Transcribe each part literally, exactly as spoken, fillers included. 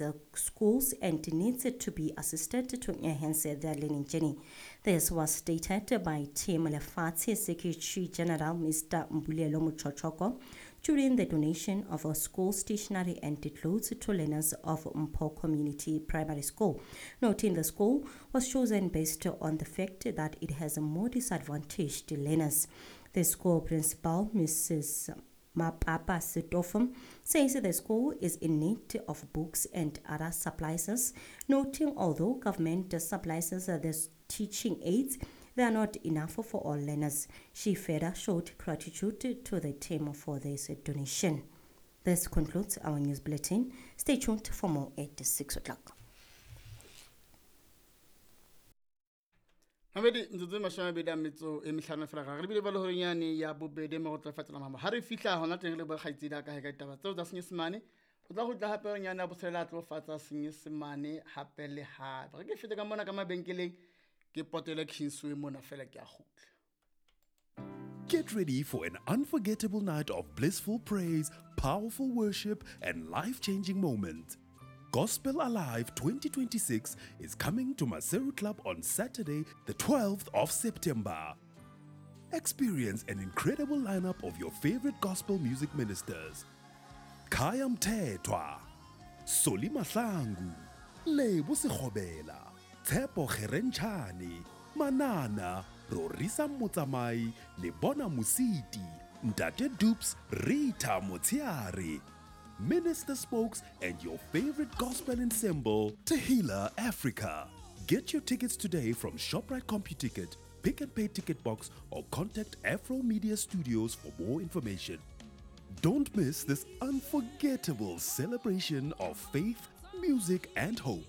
the schools and needs to be assisted to enhance their learning journey. This was stated by Team Lefatshe Secretary General Mister Mbulelo Mochochoko during the donation of a school stationery and clothes to learners of Mpho Community Primary School, noting the school was chosen based on the fact that it has more disadvantaged learners. The school principal, Missus Mapapa Setofo, says the school is in need of books and other supplies, noting although government supplies the teaching aids, they are not enough for all learners. She further showed gratitude to the team for this donation. This concludes our news bulletin. Stay tuned for more at six o'clock. Mamedi mtsotso mashome a mabedi a metso e mehlano fela ga re bile ba le horenyane ya bobedi mo go tla fatela mama ha re fihla hona teng le bokgaitsedi a ka he ka ditaba tseo tsa Senyesemane o tla go tla hape horenyane ya botshelela a tlo fatsa Senyesemane hape le hape re ke fete ka mona ka mabenkeleng ke potele Kingsway mona fela ke a kgutla. Get ready for an unforgettable night of blissful praise, powerful worship and life-changing moments. Gospel Alive twenty twenty-six is coming to Maseru Club on Saturday, the twelfth of September. Experience an incredible lineup of your favorite gospel music ministers. Khaya Mthethwa, Soli Mahlangu, Lebo Sekgobela, Tshepo Kgerenchane, Manana, Rorisa Motsamai, Lebona Mositi, Ntate Dupes, Rita Motsiare, Minister Spokes, and your favorite gospel ensemble, Tehila Africa. Get your tickets today from ShopRite CompuTicket, Pick and Pay Ticket Box, or contact Afro Media Studios for more information. Don't miss this unforgettable celebration of faith, music, and hope.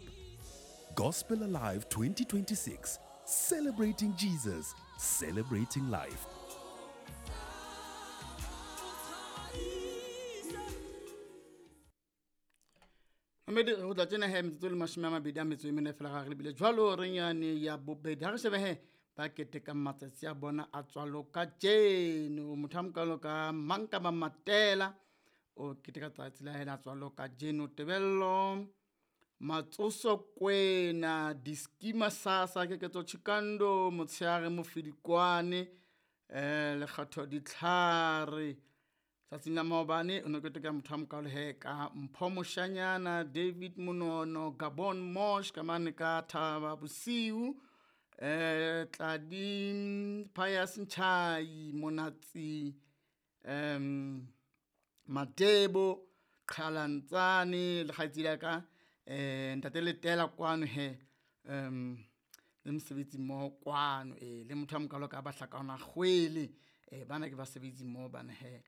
Gospel Alive twenty twenty-six, celebrating Jesus, celebrating life. Mamedi re tla tsena he metsotso le mashome a mabedi a metso e mene fela ga re lebile jwalo re nyane ya bobedi ha re shebe he ba keteka matsatsi a bona a tswalo ka jeno motho a mokalo ka mang ka ba matela o keteka tsatsi la hela tswalo ka jeno Tebello Matsoso Kwena Diskima Sasa Keketso Chikando Motsheare Mofidikwane eh Lekgatho Ditlhare tsatsing la maobane o ne keteka motho a mokalo he ka Mpho Moshanyana David Monono Gabon Mosh ka mane ka Thaba Bosiu eh Tladi Pius Nchai Monatsi em Matebo Qhalantsane le kgaitsedi ya ka eh ntate Letela kwano he em le mosebetsi mo kwano eh le motho a mokalo ka ba hlakana kgwele eh bana ke basebetsi mo bana he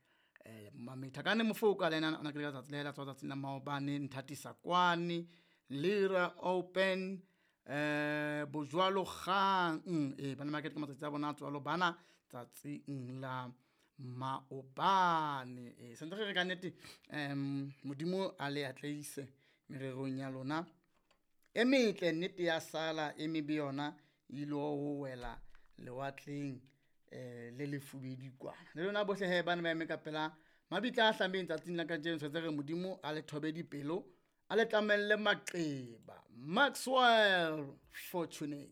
eh mametha ka ne mofoka le ena ona ke ka tsatsi le la tsatsi la maobane nthatisa kwane Lira Open eh bojwalo kgang eh bana market ka matsatsi a bona tswalo bana tsatsing la maobane eh sentse re ka nnete em modimo a le atleise mererong ya lona e metle nnete ya sala e mebe yona ile ho wela lewatleng eh le lefubedi kwana le lona bohle he bana ba eme ka pela mabitla a hlambeng tsatsing la kajeno tshwetse re modimo a le thobe dipelo a le tlamelle maqeba. Maxwell Fortunate.